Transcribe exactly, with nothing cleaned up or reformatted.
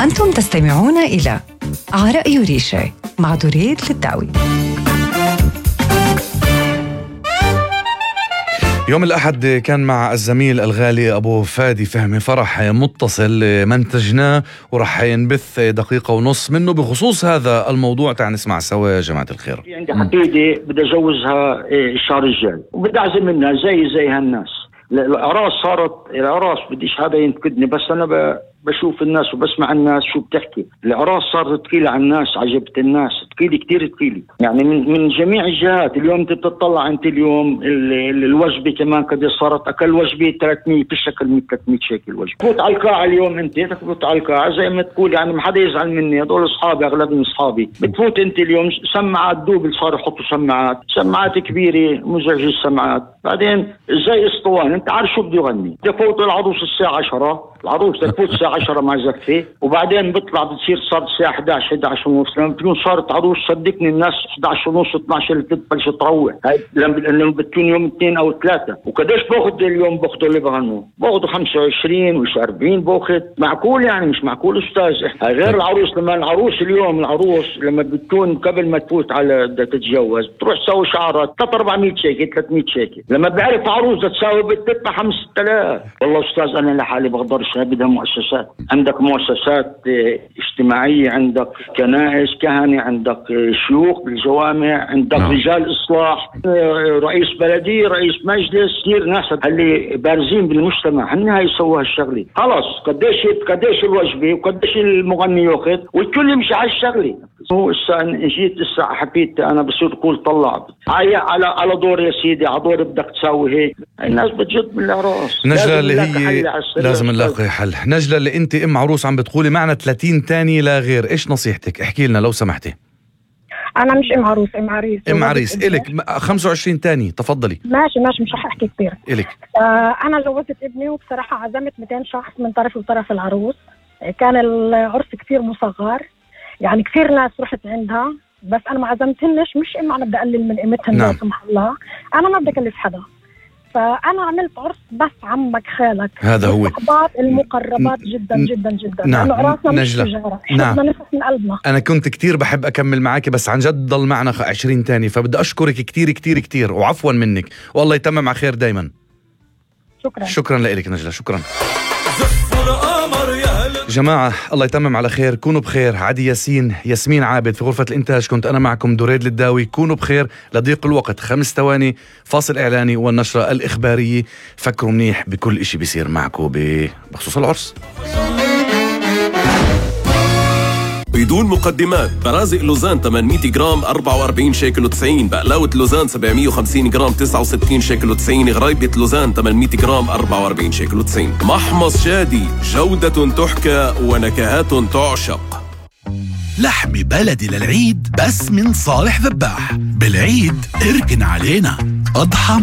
أنتم تستمعون إلى عرق يوريشة مع دريد للداوي. يوم الأحد كان مع الزميل الغالي أبو فادي فهمي فرح متصل منتجناه ورح ينبث دقيقة ونص منه بخصوص هذا الموضوع. تعال نسمع سوا يا جماعة الخير. عندي حفيدة بدي أجوزها الشهر الجاي وبدي أعزم منها زي زي هالناس. الأعراس صارت الأعراس بديش هذا ينتقدني، بس أنا ب بشوف الناس وبسمع الناس شو بتحكي. الأعراس صارت تقيلة على الناس، عجبت الناس تقيلة كتير تقيلة يعني من من جميع الجهات. اليوم انت بتطلع انت اليوم ال ال الوجبة كمان قد صارت اكل وجبة ثلاثمية بشكل ثلاثمية شيكل وجبة. تفوت على القاعة اليوم انت تفوت على القاعة زي ما تقول يعني ما حدا يزعل مني، هذول اصحابي اغلبهم اصحابي. بتفوت انت اليوم سماعات دوبل صاروا يحطوا سماعات سماعات كبيرة مزعجة السماعات. بعدين زي اسطوانة انت عارف شو بده يغني. تفوت العروس الساعة عشرة، العروس تفوت الساعة عشرة مع زفة وبعدين بيطلع بتصير صارت الساعة إحدى عشر إحدى عشر ونص. لما بتكون صارت عروس صدقني الناس إحدى عشر ونص اثنا عشر اللي بتبلش تروح. هاي لما بتكون يوم اثنين أو ثلاثة. وقديش باخذ اليوم باخذوا اللي بغنوا؟ باخذوا خمسة وعشرين وش أربعين باخذ. معقول يعني مش معقول أستاذ. هاي غير العروس. لما العروس اليوم العروس لما بتكون قبل ما تفوت على تتجوز بتروح تسوي شعرات ثلاثة أربعمية شيكل ثلاثمية شيكل. لما بعرف عروس تساوي بتدفع خمسة آلاف. والله أستاذ أنا لحالي بقدرش. بدها مؤسسات. عندك مؤسسات اجتماعية، عندك كنائس كهنة، عندك شيوخ بالجوامع، عندك نعم. رجال إصلاح، رئيس بلدية، رئيس مجلس، كثير ناس اللي بارزين بالمجتمع هن هاي يسووا هالشغلة. خلاص قديش قديش الوجبة وقديش المغني ياخذ والكل يمشي على الشغلة. هو الساعة جيت الساعة حبيت أنا بصير أقول طلع على على على دور يا سيدي على دور بدك تسوي هيك. الناس بتجد من الأعراس. نجلة اللي هي لازم نلاقي حل. نجلة اللي انت ام عروس عم بتقولي معنا ثلاثين تاني لا غير، ايش نصيحتك؟ احكي لنا لو سمحتي. انا مش ام عروس، ام عريس. ام عريس الك خمسة وعشرين تاني تفضلي. ماشي ماشي مش رح احكي كثير الك. آه انا جوزت ابني وبصراحة عزمت مئتين شخص من طرف وطرف العروس. كان العرس كثير مصغر يعني كثير ناس رحت عندها، بس انا ما عزمتهنش مش انه انا بدي اقلل من قيمتهم لا سمح الله، انا ما بدي اكلف حدا. فأنا عملت عرس بس عمك خالك، هذا هو الصحبات المقربات جدا جدا جدا. نعم نجلة نعم نفس من قلبنا. أنا كنت كتير بحب أكمل معاكي بس عن جد ضل معنا عشرين تاني، فبدي أشكرك كتير كتير كتير وعفوا منك والله يتمم على خير دايما. شكرا شكرا لك نجلة. شكرا جماعة، الله يتمم على خير. كونوا بخير. عدي ياسين، ياسمين عابد في غرفة الإنتاج، كنت أنا معكم دريد للداوي. كونوا بخير. لضيق الوقت خمس ثواني فاصل إعلاني والنشرة الإخبارية. فكروا منيح بكل إشي بيصير معكم بخصوص العرس. بدون مقدمات، برازق لوزان ثمانمية جرام أربعة وأربعين شيكل وتسعين، بقلاوة لوزان سبعمية وخمسين جرام تسعة وستين شيكل وتسعين، غريبة لوزان ثمانمية جرام أربعة وأربعين شيكل وتسعين. محمص شادي، جودة تحكى ونكهات تعشق. لحم بلدي للعيد بس من صالح ذباح. بالعيد اركن علينا أضحى